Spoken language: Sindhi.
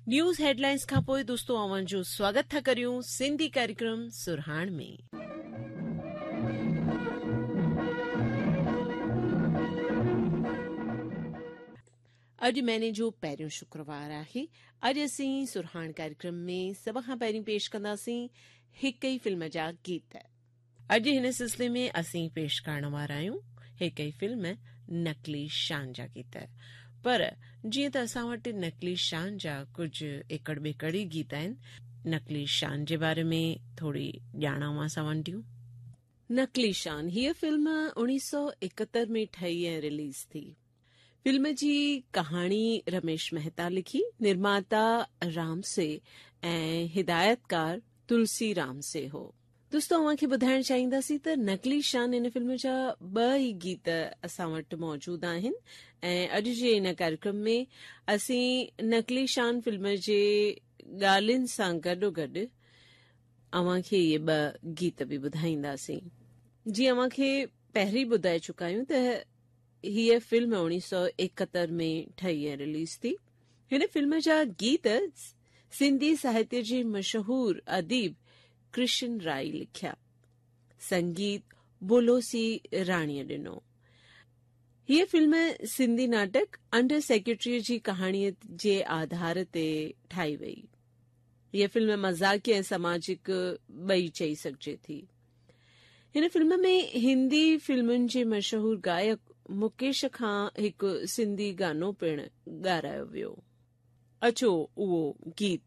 نيوز هيڊلائنز کان پوء دوستو اوهان جو سواگت ٿا ڪريون سنڌي ڪاريڪرم سرهاڻ ۾. اڄ مهيني جو پهريون شڪروار آهي. اڄ اسين سرهاڻ ڪاريڪرم ۾ سڀ کان پهرين پيش ڪنداسين هڪ ئي فلم جا گيت. اڄ هن سلسلي ۾ اسين پيش ڪرڻ وارا آهيون هڪ ئي فلم نقلي شان جا گيت. پر جيئن ته اسان وٽ نقلي شان جا ڪجهه ايڪڙ ٻيڪڙ ئي گيت آهن، نقلي شان جي باري ۾ ٿوري ڄاڻ اوهان سان ونڊيون. نقلي شان، هيء فلم اوڻيهه سؤ ايڪهتر ۾ ٺهي ۽ رليز ٿي. فلم جي ڪهاڻي رميش مهتا لکي، نرماتا رامسي ۽ هدايتڪار تلسي رامسي هو. دوستو اوهان کي ٻڌائڻ چاهينداسين ته نقلي شان ان فلم جا ٻه ئي گيت اسان وٽ موجود آهن ۽ اڄ جي ان ڪاريڪرم ۾ اسين نقلي شان فلم جي ڳالهين سان گڏوگڏ اوهان کي اهي ٻه گيت به ٻڌائينداسين. جيئن اوهان کي پهرين ٻڌائي چڪا آهيون ته هيء فلم 1971 ۾ ٺهي ۽ رليز ٿي. هن فلم جا گيت سنڌي ساهتيه جي مشهور اديب ڪرشن رائي لکيا. سنگيت بولوسي راڻيء ڏنو. هيء فلم سنڌي ناٽڪ انڊر سيڪريٽريء جي ڪهاڻيء جي آڌار تي ٺاهي وئي. هيء فلم مذاقي ۽ سماجڪ ٻئي چئي سگهجي ٿي. هن فلم ۾ هندي فلمن جي مشهور گائڪ مڪيش کان هڪ سنڌي گانو پڻ ڳارايو ويو. اچو اهو گيت.